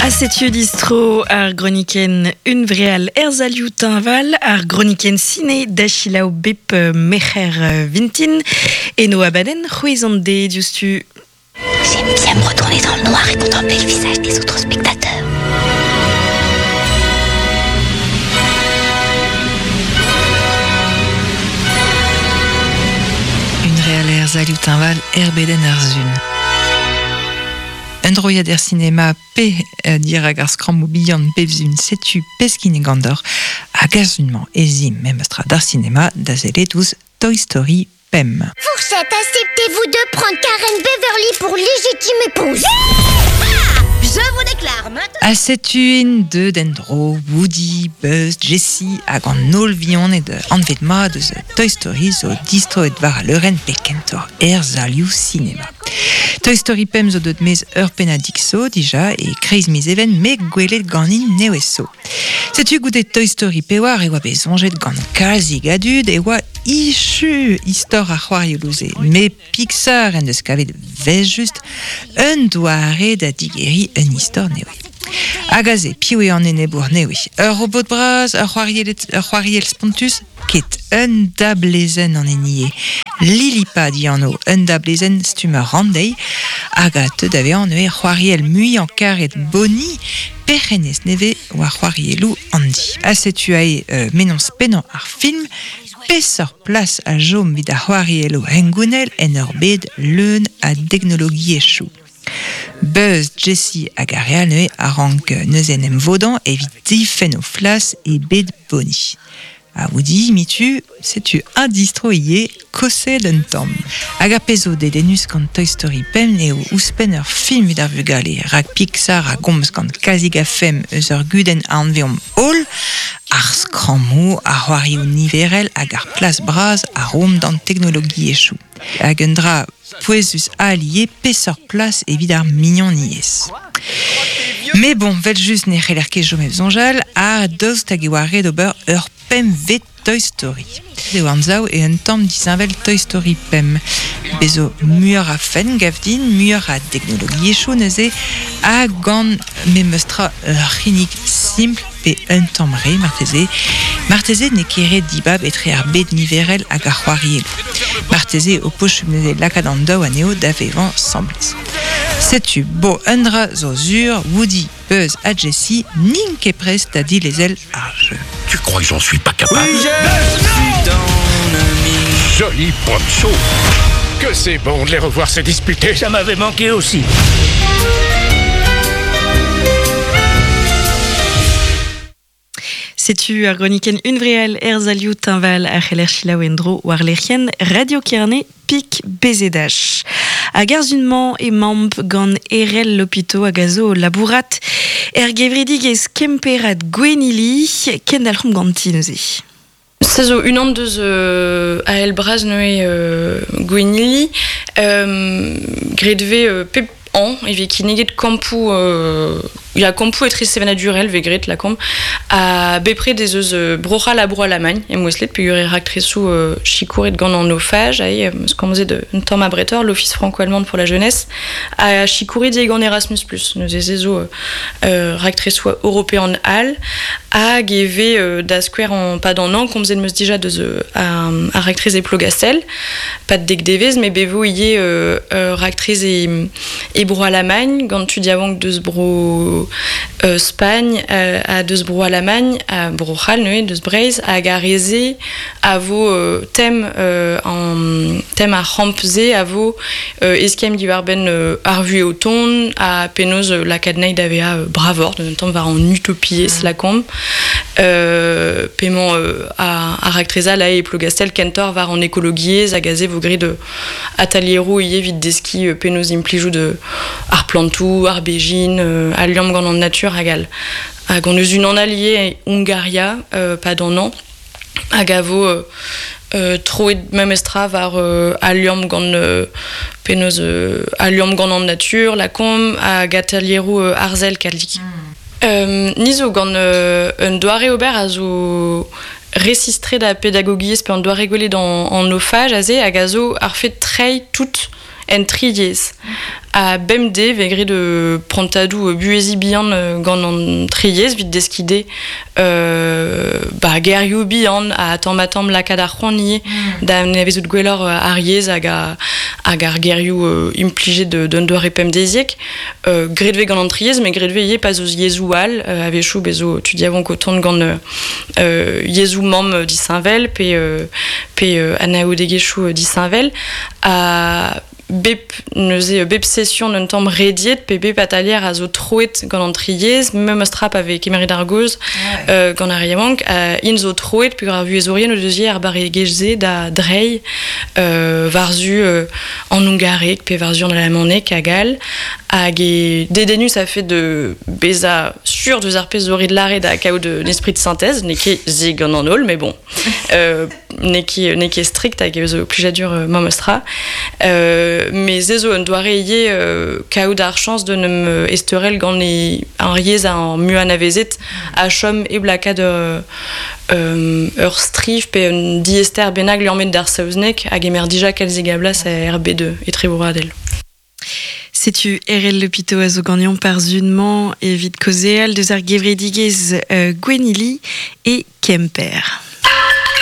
Ha setu distro ar gronikenn Hunvreal er salioù teñval, ar gronikenn sine da selaou bep merc'her vintin. Eno abadenn c'hwezh an deiz diouzhtu. J'aime bien me retourner dans le noir et contempler le visage des autres spectateurs. Hunvreal er salioù teñval er bedenn ar sun. Un droiad er sinema pe dirak ar skrammoù bihan bep sun setu peskin gant hag ar sun-mañ ez imp memestra d'ar sinema da sellet ouzh Toy Story pemp. Fourchette, acceptez-vous de prendre Karen Beverly pour légitime épouse Je vous déclare maintenant... Ha setu int deuet en-dro Woody, Buzz, Jessie hag an holl vihaned anvet mat eus Toy Story zo distroet war al leurenn pe kentoc'h er salioù sinema. Toy Story pemp zo deuet maez ur pennadig zo dija e kreiz miz Even met gwelet ganin nevez zo. Setu goude Toy Story pewar e oa bet soñjet gant kalzik a dud e oa ichu istor ar c'hoarioù-se. Met Pixar en deus kavet 'vel-just un doare da digeriñ un istor nevez. Hag aze, piv eo an enebour nevez? Ur robot bras, ur c'hoariell spontus? Ket un dablezenn an hini eo. Lilipad anv, un dablezenn stumm ur ranndeiz hag a teu da vezañ neuze c'hoariell muiañ-karet Bonnie, perc'hennez nevez war c'hoarielloù Andy. Ha setu aze mennozh pennañ ar film, peseurt plas a chom evit ar c'hoarielloù hengounel en ur bed leun a deknologiezhioù. Buzz, Jessie hag ar re all neuze a rank neuze en em vodañ evit difenn o flas e bed Bonnie. Ha Woody, mitu, setu un distro ivez, koset un tamm. Hag ar pezh zo dedennus gant Toy Story pemp eo ouzhpenn ur film evit ar vugale, rak Pixar a gomz gant kalzik a fem eus ur gudenn a anveomp holl, ar skrammoù, ar c'hoarioù niverel hag ar plas bras a roomp d'an teknologiezhioù. Hag un dra pouezus all ivez, peseurt plas evit ar mignoniezh. Mais bon, 'vel-just ne c'heller ket chom hep soñjal, ha daoust hag e oa ret ober ur pempvet Toy Story. Eo anzav eo un tamm disheñvel Toy Story pemp. Bez zo muioc'h a fenn gav din, muioc'h a deknologiezhioù neuze, ha gant memes tra ur c'hinnig simpl pe un tamm re marteze. Marteze n'eo ket ret dibab etre ar bed niverel hag ar c'hoarielloù. Marteze ho posupl neuze lakaat an daou anezho da vevañ 'sambles. Setu, bo, un dra zo sur, Woody, Buzz ha Jessie n'int ket prest da dilezel ar jeu. Tu crois que j'en suis pas capable Joli poncho Que c'est bon de les revoir se disputer Ça m'avait manqué aussi Setu ar gronikenn Hunvreal er salioù teñval a c'heller selaou en-dro war lec'hienn Radio Kerne Pik BZH. Hag ar sun-mañ emaomp gant Erell Lopito hag a zo o labourat er gevredigezh Kemperad Gwennili. Kendalc'homp ganti neuze. Se zo unan deus Ael Bras neuze Gwennili. Graet 'vez pep hañv e vez kinniget kampoù ya kampoù etre sevenadurel 'vez graet lakaomp ha bepred ez eus Bro-C'hall ha Bro-Alamagn emouestlet peogwir e raktresoù sikouret gant an OFAJ aze 'm eus komzet un tamm abretoc'h l'Office franco-allemand pour la jeunesse ha sikouret ivez gant Erasmus Plus neuze se zo raktresoù european all hag e vez da skouer en pad an hañv komzet 'm eus dija deus ar raktres e Plogastel pad dek devezh met bet vo ivez ur raktres e, e Bro-Alamagn gant tud yaouank deus Bro Spagn ha deus Bro-Alamagn ha Bro-C'hall neuze deus Breizh hag ar re-se a vo tem an tem ar c'hamp-se a vo eskemm diwar-benn ar vuhez o tont ha penaos lakaat anezhi da vezañ bravoc'h d'un tamm war an utopiezh lakaomp p'emañ ar raktres all e Plougastell kentoc'h war an ekologiezh hag aze vo graet atalieroù ivez evit deskiñ penaos implijout ar plantoù, ar bezhin, al liamm gant an natur hag all. Hag on eus unan all ivez e Hungaria pad an hañv hag a vo troet memestra war al liamm gant penaos al liamm gant an natur lakaomp hag atalieroù arzel kalzik. Ni zo gant un doare ober a zo resistret da pedagogiezh pe an doare gwelet an, an OFAJ aze hag a zo ar fed treiñ tout en triez. A bemde ve gret prantadou buezi bihan gant an triez vit deskide ba gerioù bihan a tamm ha tamm lakaat ar c'hoant ivez da nevezout gwelloc'h ar yezh hag hag ar gerioù implijet d'un doare pemdeziek. Graet vez gant an triez, met graet vez ivez pa 'z eus yezhoù all, a-wechoù bez zo tud yaouank o tont gant yezhoù mamm disheñvel pe pe anaoudegezhioù disheñvel. Ha bep neuze bep session un tamm rediet pe bep atalier a zo troet gant an tri yezh, memes tra pa vez kemeret ar gaoz gant ar re yaouank, int zo troet peogwir ar vuhezourien o deus ivez ar barregezh-se da dreiñ war-zu an hungareg pe war-zu an alamaneg hag all. Hag eo dedennus a-fet de bezañ sur deus ar pezh zo ret lâret ha kaout un esprit de synthèse, n'eo ket se gant an holl, mais bon, n'eo ket n'eo ket strikt hag zo plijadur memestra. Met se zo un doare ivez kaout ar chañs d'en em ezteurel gant e ar yezh ar muiañ anavezet ha chom hep lakaat ur striv pe un diaester bennak liammet d'ar saozneg a gemer dija kalzik a blas er bed etrebroadel. Setu Erell Lepito a zo ganeomp ar sun-mañ evit kaozeal deus ar gevredigezh Gwennili e Kemper.